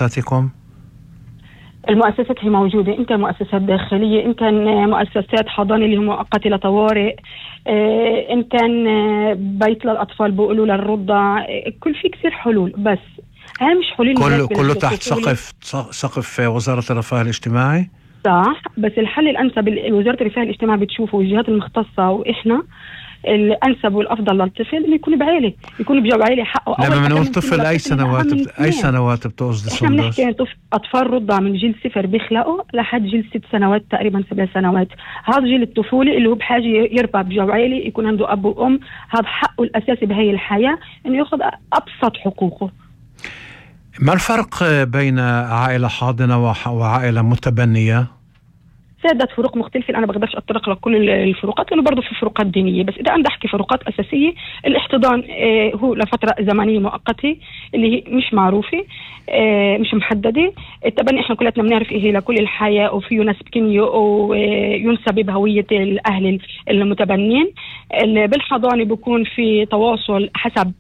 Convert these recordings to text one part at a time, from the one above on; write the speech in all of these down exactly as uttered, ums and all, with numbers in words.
مؤسساتكم؟ المؤسسات هي موجودة، إن كان مؤسسات داخلية، إن كان مؤسسات حضانة اللي هي مؤقتة لطوارئ، إن كان بيت للأطفال بيقولوا للرضع، كل في كثير حلول. بس هاي مش حلول كله كله تحت سقف سقف وزارة الرفاه الاجتماعي. صح، بس الحل الأنسب وزارة الرفاه الاجتماعي بتشوفه والجهات المختصة وإحنا الأنسب والأفضل للطفل إنه يكون بعائلة، يكون بجواب عائلة حقه. لما بنقول طفل أي سنوات بت... أي سنوات بتقصد؟ إحنا بنحكي طفل أطفال رضع من جيل صفر بيخلقوا لحد جيل ست سنوات تقريبا، سبع سنوات. هذا جيل الطفولة اللي هو بحاجة يربى بجواب عائلة، يكون عنده أب وأم. هذا حقه الأساسي بهاي الحياة، إنه يأخذ أبسط حقوقه. ما الفرق بين عائلة حاضنة وعائلة متبنية؟ سادت فروق مختلفة، أنا بقدرش أتطرق لكل الفروقات لأنه برضو في فروقات دينية. بس إذا أنا بدي أحكي فروقات أساسية، الاحتضان آه هو لفترة زمنية مؤقتة اللي هي مش معروفة، آه مش محددة. التبني إحنا كلنا بنعرف إيه لكل الحياة، وفيه نسب كنية وينسب بهوية الأهل المتبنين. بالحضانة بيكون في تواصل حسب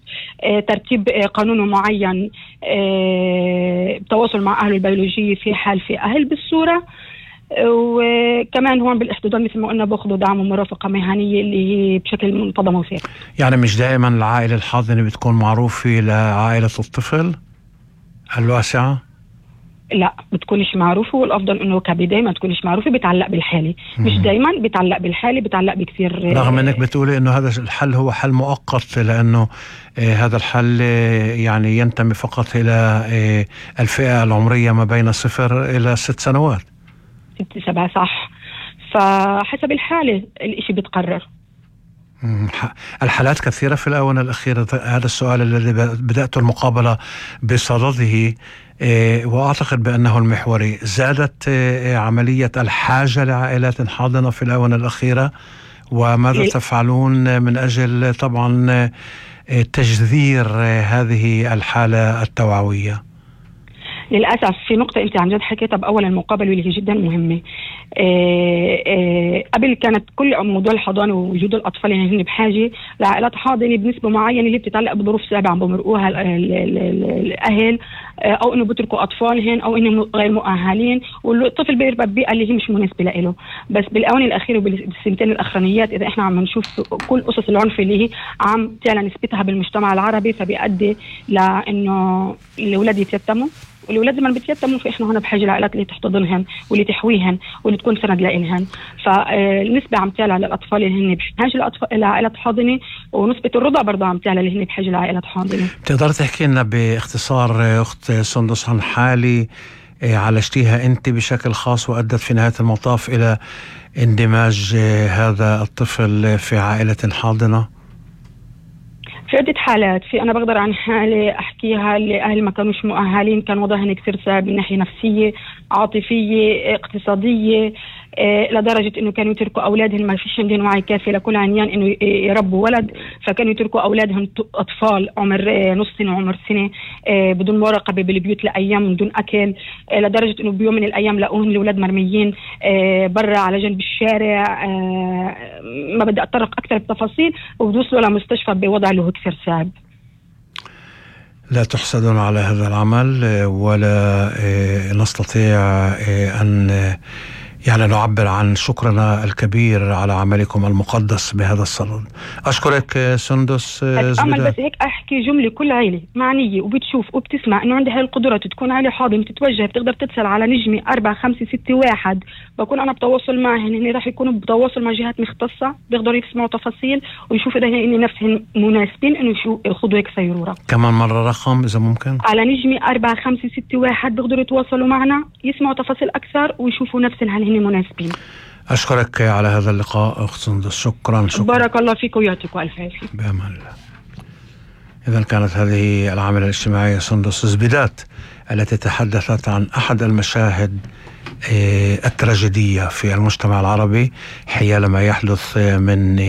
آه ترتيب آه قانوني معين، آه تواصل مع أهله البيولوجية في حال في أهل بالصورة. وكمان هون بالاحتضان مثل ما قلنا باخذوا دعم ومرافقة مهنية اللي هي بشكل منتظم وثابت. يعني مش دائما العائلة الحاضنة بتكون معروفة لعائلة الطفل الواسعة؟ لا، بتكونش معروفة، والأفضل إنه كبداية ما تكونش معروفة. بتعلق بالحالة، مش دايما بتعلق بالحالة، بتعلق بكثير. رغم إنك بتقولي إنه هذا الحل هو حل مؤقت، لأنه آه هذا الحل آه يعني ينتمي فقط إلى آه الفئة العمرية ما بين صفر إلى ست سنوات. ست سبعة صح، فحسب الحالة الاشي بتقرر. الحالات كثيرة في الآونة الأخيرة. هذا السؤال الذي بدأت المقابلة بصدده وأعتقد بأنه المحوري. زادت عملية الحاجة لعائلات حاضنة في الآونة الأخيرة، وماذا تفعلون من أجل طبعا تجذير هذه الحالة التوعوية؟ للأسف في نقطة أنت عن جد حكيتها بأول المقابلة واللي هي جدا مهمة. آآ آآ قبل كانت كل موضوع الحضانة ووجود الأطفال اللي هن بحاجة لعائلات حاضنة بنسبة معينة اللي بتتعلق بظروف صعبة عم بمرقوها الأهل، أو إنه بتركوا أطفالهن، أو إنهم غير مؤهلين، والطفل بيربى ببيئة اللي هي مش مناسبة له. بس بالآونة الأخيرة وبالسنتين الأخرانيات إذا إحنا عم نشوف كل قصص العنف اللي هي عم تعلى نسبتها بالمجتمع العربي، فبيؤدي لأنه الأولاد يتيتموا، والأولاد لما بيتيتموا فإحنا هنا بحاجة لعائلات اللي تحتضنهن واللي تحويهن واللي تكون سند لإلهن. فالنسبة عم تعلى للأطفال اللي هن بحاجة لعائلات حاضنة، ونسبة الرضع برضه عم تعلى اللي هن بحاجة لعائلات حاضنة. بتقدر تحكي لنا باختصار أخت سندس عن حالي عالجتيها أنت بشكل خاص وأدت في نهاية المطاف إلى اندماج هذا الطفل في عائلة حاضنة؟ في عدة حالات. في أنا بقدر عن حالة أحكيها اللي أهل ما كانوش مؤهلين، كان وضعهم كثير صعب من ناحية نفسية، عاطفية، اقتصادية، إيه لدرجة إنه كانوا يتركوا أولادهم ما فيش عندهم وعي كافي لكل عنيان إنه يربوا ولد، فكانوا يتركوا أولادهم أطفال عمر إيه نص سنة وعمر سنة إيه بدون مراقبة بالبيوت لأيام من دون أكل، إيه لدرجة إنه بيوم من الأيام لقوهم الأولاد مرميين إيه برا على جنب الشارع. إيه ما بدي أتطرق أكثر بتفاصيل، وبدوصلوا لمستشفى بوضع له كثير صعب. لا تحسدون على هذا العمل، ولا نستطيع أن يعني نعبر عن شكرنا الكبير على عملكم المقدس بهذا الصدد. أشكرك سندس زبيدات. أعمل بس هيك أحكي جملة، كل عائلة معنية وبتشوف وبتسمع إنه عندها هاي القدرة تكون عائلة حاضنة تتوجه، بتقدر تتصل على نجمة أربعة خمسة ستة واحد، بكون أنا بتواصل معهن، هن راح يكونوا بتواصل مع جهات مختصة بيقدروا يسمعوا تفاصيل ويشوفوا إذا هن نفسهم مناسبين إنه شو ياخذوا هيك سيرورة. كمان مرة رقم إذا ممكن. على نجمة أربعة خمسة ستة واحد بيقدروا يتواصلوا معنا، يسمعوا تفاصيل أكثر ويشوفوا نفسهم هل هن مناسبين. أشكرك على هذا اللقاء أخت سندس. شكرا شكرا. بارك الله فيك ويعطيكم ألف عافية. بأمان الله. إذن كانت هذه العاملة الاجتماعية سندس زبيدات التي تحدثت عن أحد المشاهد التراجيدية في المجتمع العربي حيال ما يحدث من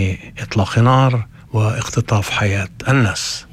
إطلاق نار واختطاف حياة الناس.